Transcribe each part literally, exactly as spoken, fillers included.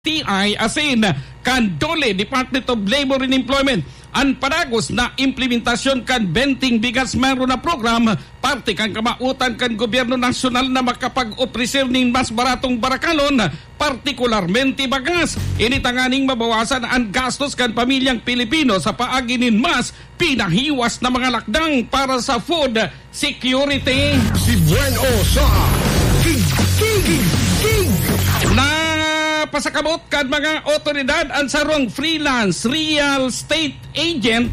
T I asin kan DOLE, Department of Labor and Employment, an padagos na implementasyon kan Benteng Bigas Mayroon Na Program, parte kan kamawotan kan gobyerno nasyonal na makapag-opreser nin mas baratong barakalon, partikularmente bagas. Ini tanganing mabawasan an gastos kan pamilyang Pilipino sa paagi nin mas pinahiwas na mga lakdang para sa food security. Si Buen O sa King, King, King, King. Napasakabot kan mga otoridad an sarong freelance real estate agent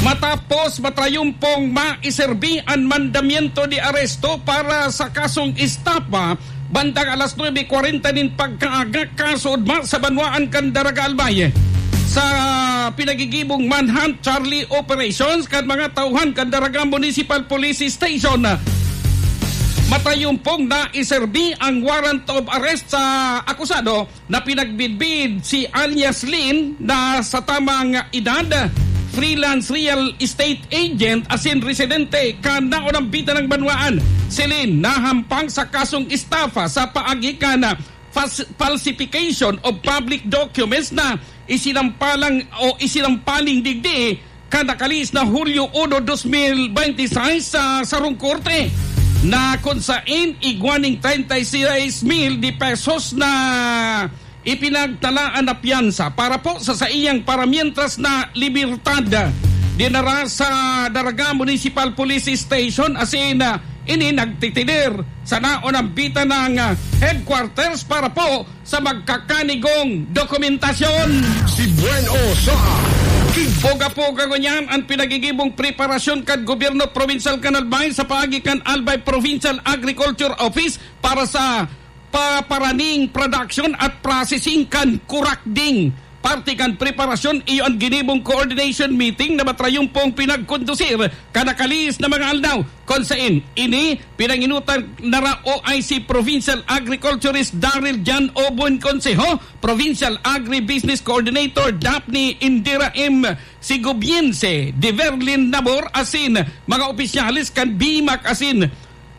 matapos matrayumpong maiserbi an mandamiento de aresto para sa kasong estafa bandang alas nuebe kwarenta nin pagkaaga, kaso ugma sa banwaan kan Daraga Albay. Sa pinagigibong manhunt charlie operations kan mga tauhan kan Daraga Municipal Police Station, matayumpong naiserbi ang warrant of arrest sa akusado na pinagbidbid si alias Lin na sa tamang edad, freelance real estate agent asin residente kan naunambitan ng banwaan. Si Lin nahampang sa kasong estafa sa paagi kan fas-, falsification of public documents na isinampalang o isinampaling digdi kan nakalihis na Hulyo uno, dos mil bente y seis sa sarong korte na kun saen igwa ning treinta y seis mil de pesos na ipinagtalaan na piyansa para po sa saiyang paramientras na libertad. Dinara sa Daraga Municipal Police Station asin, ah, ini nagtitidir sa naunambitan ng, ah, headquarters para po sa magkakanigong dokumentasyon. Si Buen O sa King. Poga-poga ngunyan ang pinagigibong preparasyon kan gobyerno probinsyal kan Albay sa paagi kan Albay Provincial Agriculture Office para sa paparaning production at processing kan kurakding. Parte kan preparasyon, iyo an ginibong coordination meeting na matrayumpong pinagkondusir kan nakalihis na mga aldaw. Kun saen ini, pinanginutan na ra O I C Provincial Agriculturist Daryl Jan Obon Consejo, Provincial Agribusiness Coordinator Daphne Indira M Sigobiense, Diverlin Nabor asin mga opisyales kan BIMAC asin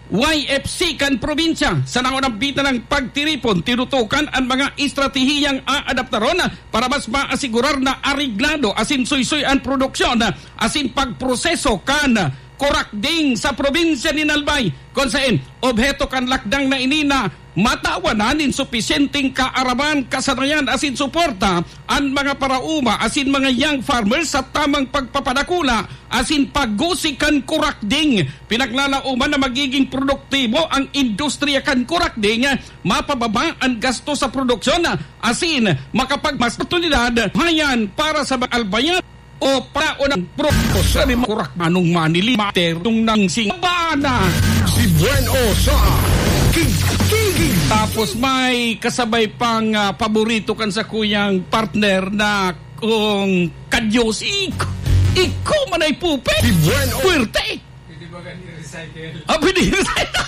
Y F C kan probinsya. Sa naunambitan ng pagtiripon, tinutukan an mga estratehiyang aadaptaron para mas maasigurar na areglado asin suysoy an produksyon asin pagproseso kan kurakding sa probinsya nin Albay, kun saen obheto kan lakdang na ini na matawan na nin supisyenteng kaaraman, kasanayan asin suporta an mga paraoma asin mga young farmers sa tamang pagpapadakula asin paggusi kan kurakding. Pinaglalaoman na magiging produktibo ang industriya kan kurakding, mapababa an gasto sa produksyon, asin makapagmas oportunidad hayan para sa mga Albayan o para unang pro-, sa mga kurak manong manili mater nung nang singbana. Si Buen O sa King, King, King. Tapos may kasabay pang, ah, paborito kan sa kuyang partner na kung kadyos, ik-, ikaw man ay pupe. Si Buen O. Puwerte. Pwede ba gani recycle? Ah, pwede recycle.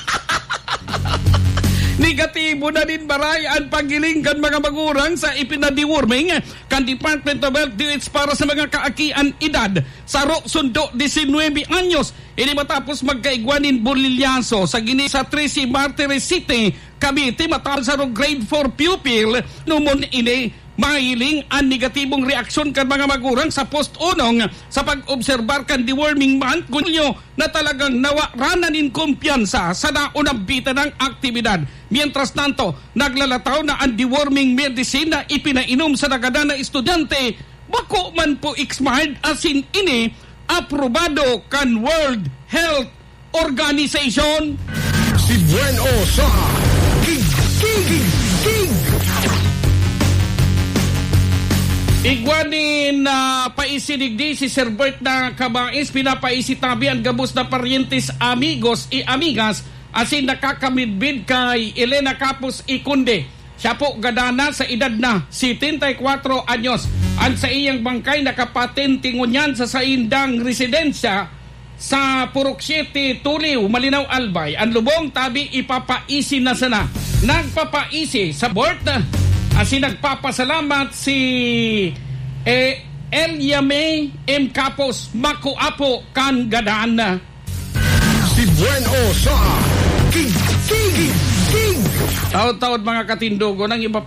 Negatibo na nin baray an paghiling kan mga magurang sa ipinadeworming kan Department of Health D O H para sa mga kaakian edad saro sundo disinwebe anyos. Ini matapos magkaigwa nin bulilyaso sa gini sa trese Martires City, Cavite, matapos sa grade four pupil, numon ini mahiling an negatibong reaksyon kan mga magurang sa post unong sa pag-obserbar kan deworming month, Hunyo, na talagang nawaranan nin kumpiyansa sa naunambitan ng aktibidad. Mientras tanto, naglalataw na an deworming medicine na ipinainom sa nagadan na estudyante, bako man po expired asin ini aprobado kan World Health Organization. Si Buen O sa King, King, King. Igwa nin, ah, paisi digdi si Sir Bert na Kabais, pinapaisi tabi an gabos na paryentes, amigos y amigas, asin nakakamidbid kay Elena Capos y Conde. Siya po gadana sa edad na setenta y kwatro anyos. An saiyang bangkay nakapatinti ngunyan sa saindang residensya sa Purok Siete, Tuliw, Malinao, Albay. An lubong tabi ipapaisi na sana. Nagpapaisi sa Bert, asin nagpapasalamat si, eh, Elia May M Capos, makuapo kan gadan. Si Buen O sa King, King, King. Taod-taod, mga katindogon, ang iba pa